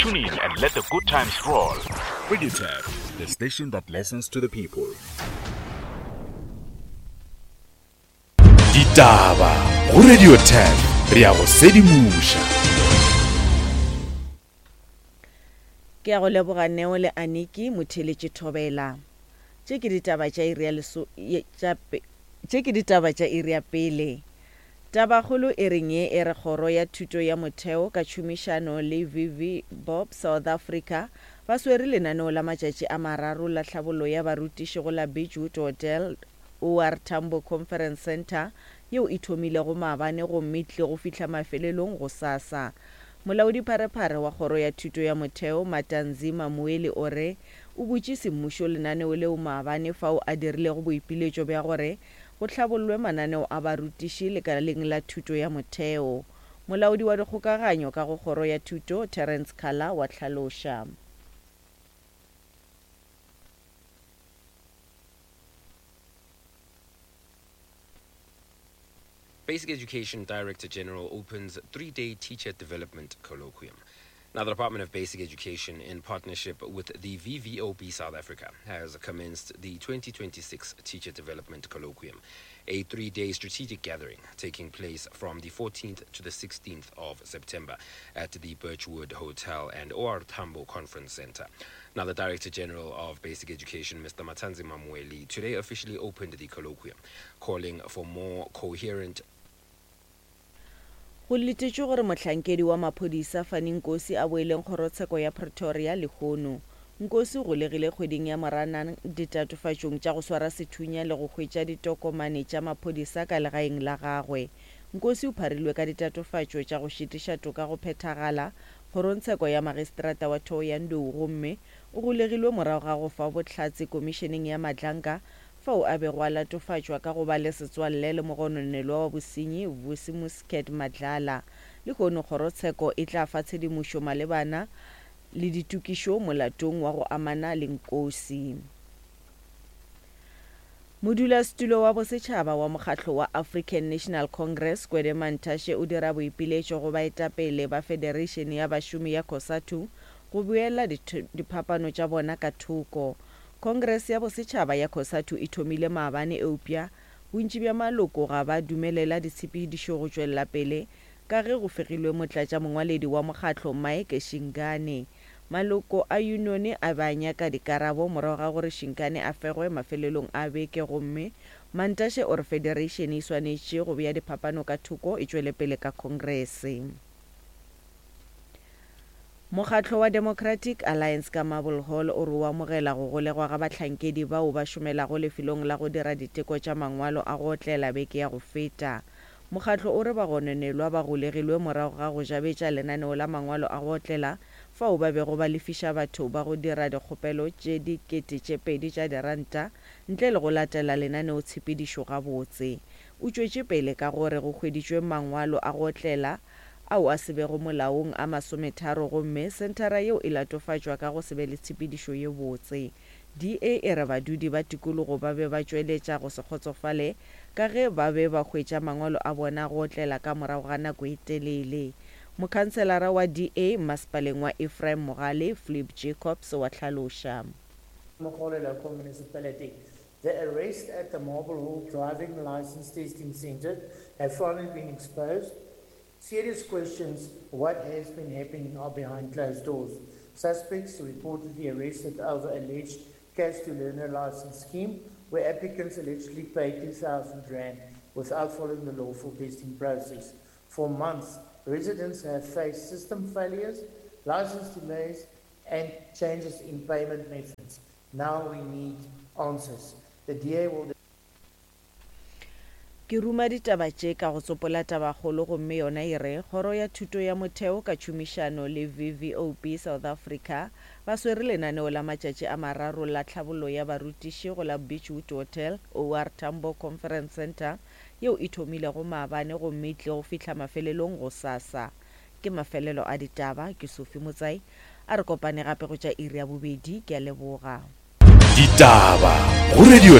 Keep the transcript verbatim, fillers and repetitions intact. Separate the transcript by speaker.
Speaker 1: Tune in and let the good times roll. Radio Tap, the station that listens to the people. Ditaba go Radio Tap, re a go sedimoša.
Speaker 2: Ke a go leboga Neo le Aniki motheeletši Thobela. Tše ke ditaba tša iri ya leso tša tše ke ditaba tša iri ya pele. Tabakgolo e reng ye e re Kgoro ya Thuto ya Motheo ka tšhomišano le V V Bob South Africa ba swere lenaneo la matšatši a mararo la tlhabollo ya barutiši go la Beachwood Hotel O R Tambo Conference Centre yeo e thomilego maabane gomme e tlile go fihla mafelelong gosasa. Molaodipharephare wa Kgoro ya Thuto ya Motheo Matanzi Mamueli o re o butše semmušo lenaneo leo maabane fao a dirilego boipiletšo bja gore go hlabollwe mananeo a barutiši lekaleng la thuto ya motheo. Molaodi wa dikgokaganyo ka go Kgoro ya Thuto Terence Khala wa hlaloša.
Speaker 3: Basic Education Director General opens three-day teacher development colloquium. Now, the Department of Basic Education, in partnership with the V V O B South Africa, has commenced the twenty twenty-six Teacher Development Colloquium, a three-day strategic gathering taking place from the fourteenth to the sixteenth of September at the Birchwood Hotel and O R Tambo Conference Center. Now, the Director General of Basic Education, Mister Mathanzima Mweli, today officially opened the colloquium, calling for more coherent.
Speaker 2: Go letetšwe gore mohlankedi wa maphodisa Fani Nkosi a boeleng kgorotsheko ya Pretoria lehono. Nkosi o golegile kgweding ya Moranang ditatofatšong tša go swara sethunya le go hwetša ditokomane tša maphodisa ka legaeng la gagwe. Nkosi o pharilwe ka ditatofatšo tša go šitiša toka go phethagala kgorongtsheko ya magistrata wa Thohoyandou gomme o golegilwe morago ga go fa bohlatse komišeneng ya Madlanga fao a bego a latofatšwa ka go ba le setswalle le mogononelwa wa bosenyi Vusi Muscat Madlala. Lehono kgorotsheko e tla fa tshedimošo malebana le ditokišo molatong wa go amana le Nkosi. Modulasetulo wa bosetšhaba wa mokgatlo wa African National Congress Gwede Mantashe o dira boipiletšo go baetapele ba Federation ya bašomi ya COSATU go beela diphapano tša bona ka thoko. Congress ya bosetšhaba ya COSATU e thomile maabane eupša bontši bja maloko ga ba dumelela ditshepedišo go tšwelela pele ka ge go fegilwe motlatša mongwaledi wa mokgatlo Mike Shingane. Maloko a unione a ba nyaka dikarabo morago ga gore Shingane a fegwe mafelelong a beke gomme Mantashe o re federation e swanetše go bea diphapano ka thoko e tšwele pele ka Congress. Mokgatlo wa Democratic Alliance ka Marble Hall o re o amogela go golegwa ga bahlankedi bao ba šomelago lefelong la go dira diteko tša mangwalo a go otlela beke ya go feta. Mokgatlo o re bagononelwa ba golegilwe morago ga go jabetša lenaneo la mangwalo a go otlela fao ba bego ba lefiša batho ba go dira dikgopelo tše dikete tše pedi tša diranta ntle le go latela lenaneo tshepedišo gabotse. O tšwetše pele ka gore go hweditšwe mangwalo a go otlela ao a se bego molaong a masometharo gomme senthara yeo e latofatšwa ka go se be le tshepedišo ye botse. D A e re badudi ba tikologo ba be ba tšweletša go se kgotsofale ka ge ba be ba hwetša mangwalo a bona go otlela ka morago ga nako e telele. Mokhanselara wa D A mmasepaleng wa Ephraim Mogale, Flip Jacobs wa hlaloša.
Speaker 4: Mogale Local Municipality. The arrest at the Marble Hall Driving License Testing Center have finally been exposed. Serious questions, what has been happening are behind closed doors. Suspects reportedly arrested over alleged cash to learner license scheme, where applicants allegedly paid two thousand rand without following the lawful testing process. For months, residents have faced system failures, license delays, and changes in payment methods. Now we need answers. The D A will
Speaker 2: Ke ruma ditaba tše ka go tsopola tabakgolo gomme yona e re Kgoro ya Thuto ya Motheo ka tšhomišano le V V O B South Africa ba swere lenaneo la matšatši a mararo la tlhabollo ya barutiši go la Beachwood Hotel O R Tambo Conference Center yeo e thomilego maabane gomme e tlile go fihla mafelelong gosasa. Ke mafelelo a ditaba, ke Sophie Motsai a re kopane gape go tša iri ya bobedi. Ke a leboga.
Speaker 1: Ditaba go Radio